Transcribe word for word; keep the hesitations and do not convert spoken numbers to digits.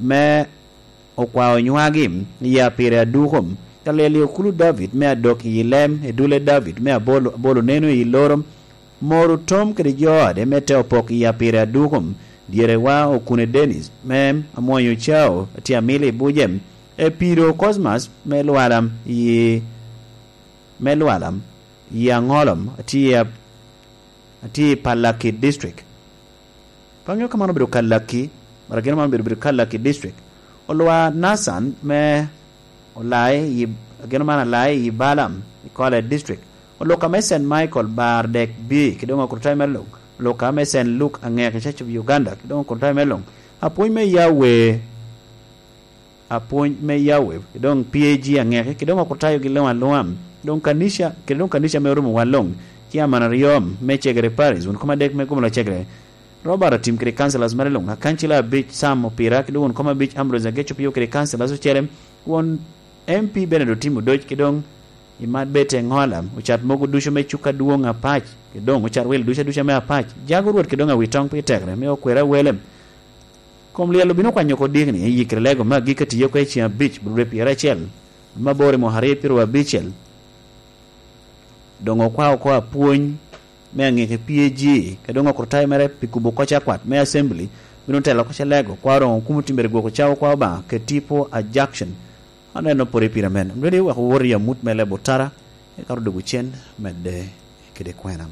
me okwao nywagi i apire aduko, ka lyel i okulu David me adok i lem, i dule David me abolo, abolo neno i loro, moro tom kede jo ode me te opok i apire aduko, dyerewa Okune Dennis me Amwonyo Cao, atye amilo i buce, Epiro Cosmas me Lwala i, me Lwala i Aŋolom, atye, atye i Palaki District. Pe aŋeo ka man obedo Kalaki, mara gin man obedo, obedo Kalaki District. Olwa Nathan me Olai, i, gin man Alai i Balam, i Kole District. Oluka me Saint Michael bar dek bi, ki doŋ Okrutayo me Luŋ. Oluka me Saint Luke Aŋeke, Church of Uganda, ki doŋ Okrutayo me Luŋ. Apwony me Yahweh, apwony me Yahweh, ki doŋ P A G Aŋeke, ki doŋ Okrutayo gi luŋ aluŋa. Doŋ kanica, ki doŋ kanica me Orumo Wal Luŋ, ci aman aryo me Cegere Paris, wun koma dek me Gumula Cegere. Robert Otim kede councillors mere luŋ, akancila abic Sam Opira, ki doŋ won koma abic Ambrose Ageco Pio kede councillors ocele, won M P Bernard Otim Odoc, ki doŋ i Mad Bete Ŋola, ocat mogo ducu me cuk adwoŋ apac, ki doŋ ocat wil ducu aduca me apac, jago Rwot ki doŋ awitoŋ pi tekre, me okwera wele. Kom lyel obino kwanyo oko dikni, i yikre lego me agikki atiyo oko i ceŋ abic, bulure pyeracel, ma bor i mwaka aryo pyeraryo abicel. Doŋ okwao oko apwony me aŋeke P A G, ka doŋ okrutayo mere pi kubo oko cakwat me Assembly, bino telo oko calego, kwa roŋo kumo timbere gwoko cawa kwa Obaŋa, kede tipo a Jackson. Aneno pore pira men. Ready, wek owot i amut me lebo tara, eka odwogo cen, medde kede kwena.